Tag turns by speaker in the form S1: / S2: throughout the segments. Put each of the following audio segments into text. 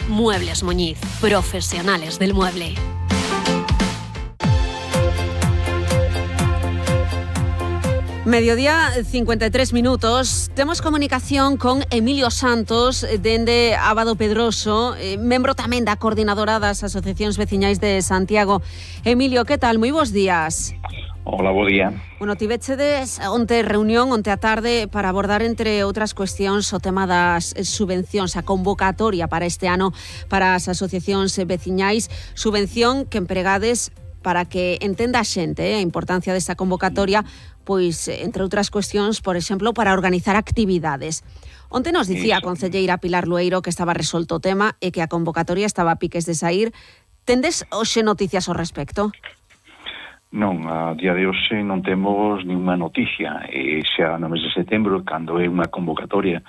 S1: Muebles Muñiz, profesionales del mueble. Mediodía, 53 minutos. Temos comunicación con Emilio Santos, dende Abado Pedroso, membro tamén da Coordinadora das Asociacións Veciñais de Santiago. Emilio, que tal? Moi bons días.
S2: Hola, bo día.
S1: Bueno, tivechedes onte reunión, onte a tarde, para abordar, entre outras cuestións, o tema das subvencións, a convocatoria para este ano para as asociacións veciñais, subvención que empregades para que entenda a xente a importancia desta convocatoria, pois, entre outras cuestións, por exemplo, para organizar actividades. Onte nos dicía a concelleira Pilar Lueiro que estaba resolto o tema e que a convocatoria estaba a piques de saír. Tendes hoxe noticias ao respecto?
S2: Non, a día de hoxe non temos ninguna noticia. Xa no mes de setembro, cando é unha convocatoria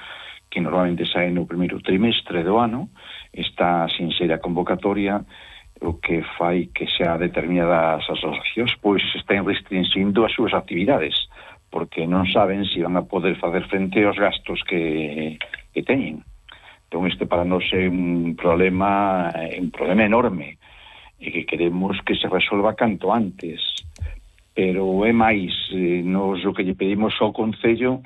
S2: que normalmente sae no primeiro trimestre do ano, está sin ser a convocatoria, o que fai que xa determinadas asociacións pois estén restringindo as súas actividades, porque non saben se van a poder facer frente aos gastos que teñen. Entón, este para nós é un problema enorme, e que queremos que se resolva canto antes. Pero é máis, nos o que lle pedimos ao Concello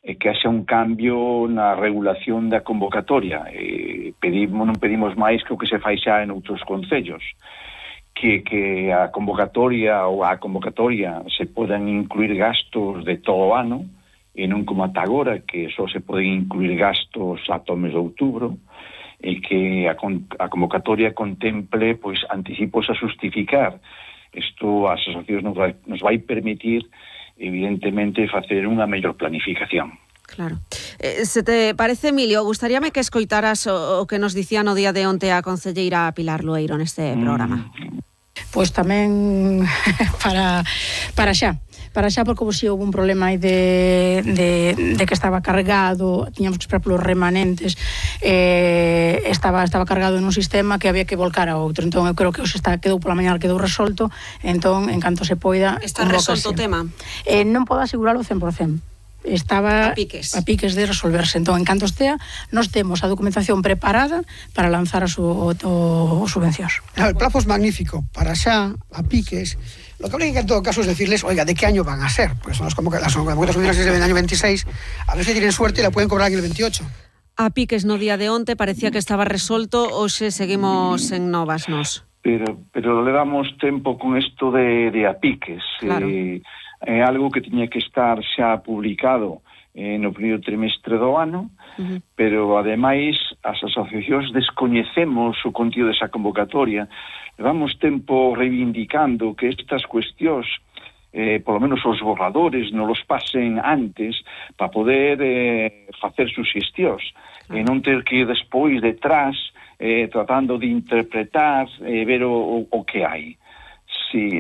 S2: é que haxa un cambio na regulación da convocatoria. Non pedimos máis que o que se fai xa en outros concellos, que a convocatoria se podan incluir gastos de todo o ano, e non como ata agora, que só se poden incluir gastos ata o mes de outubro, e que a convocatoria contemple pois anticipos a justificar. Isto as asociacións nos vai permitir, evidentemente, facer unha mellor planificación.
S1: Claro. Se te parece, Emilio, gustaríame que escoitaras o que nos dicía no día de onte a concelleira Pilar Lueiro neste programa.
S3: Pois tamén para xa, porque si houve un problema aí de que estaba cargado, tiñamos que esperar polos remanentes, estaba cargado en un sistema que había que volcar a outro. Entón eu creo que hoxe quedou pola mañá, quedou resolto. Entón, en canto se poida,
S1: está resolto o tema?
S3: Non podo asegurarlo 100%. Estaba a piques de resolverse. Entón, en canto estea, nós temos a documentación preparada para lanzar as subvencións.
S4: El plazo es magnífico, para xa, a piques. Lo que habría que en todo caso es decirles, oiga, ¿de qué año van a ser? Pues son las convocatorias del año 26, a ver si tienen suerte y la pueden cobrar en el 28.
S1: A piques no día de onte parecía que estaba resolto, hoxe seguimos en novas nos.
S2: Pero le damos tempo con isto de a piques.
S1: Claro.
S2: É algo que tiña que estar xa publicado no primeiro trimestre do ano, pero ademais as asociacións descoñecemos o contido desa convocatoria. Levamos tempo reivindicando que estas cuestións, polo menos os borradores, non los pasen antes para poder facer suxestións, e non ter que ir despois detrás tratando de interpretar e ver o que hai. Sí,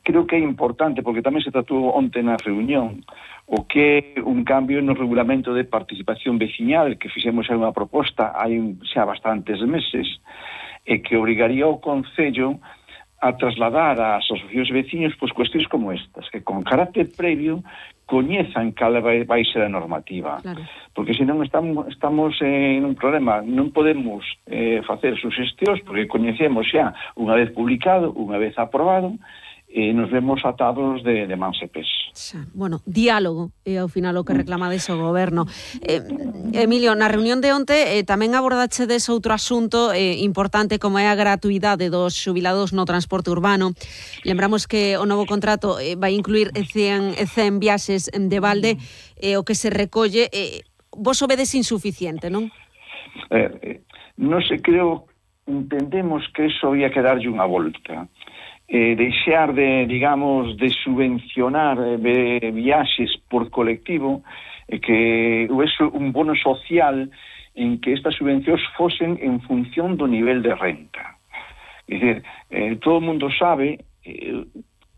S2: creo que é importante, porque tamén se tratou onte na reunión, o que é un cambio no regulamento de participación veciñal, que fixemos unha proposta hai xa bastantes meses, e que obrigaría ao Concello a trasladar ás asociacións veciños pois cuestións como estas, que con carácter previo coñezan cal vai ser a normativa. Claro. Porque senón estamos en un problema, non podemos facer suxestións porque coñecemos xa unha vez publicado, unha vez aprobado, e nos vemos atados de mans e pés.
S1: Bueno, diálogo é ao final o que reclamades o goberno. Emilio, na reunión de onte tamén abordachedes outro asunto importante como é a gratuidade dos xubilados no transporte urbano. Lembramos que o novo contrato vai incluir 100 viaxes de balde, o que se recolle, vos o vedes insuficiente, non?
S2: Non sei, entendemos que iso había que darlle unha volta. Deixar de subvencionar viaxes por colectivo, que houvese un bono social en que estas subvencións fosen en función do nivel de renta. É dicir, todo o mundo sabe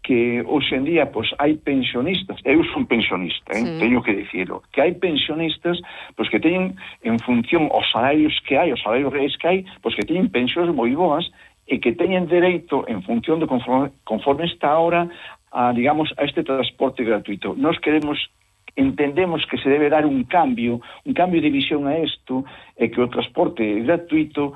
S2: que hoxe en día hai pensionistas, eu son pensionista, teño que dicirlo, que hai pensionistas que teñen en función os salarios que hai, os salarios reais que hai, que teñen pensións moi boas e que teñen dereito en función de conforme está ahora a este transporte gratuito. Nós entendemos que se debe dar un cambio de visión a isto, e que o transporte gratuito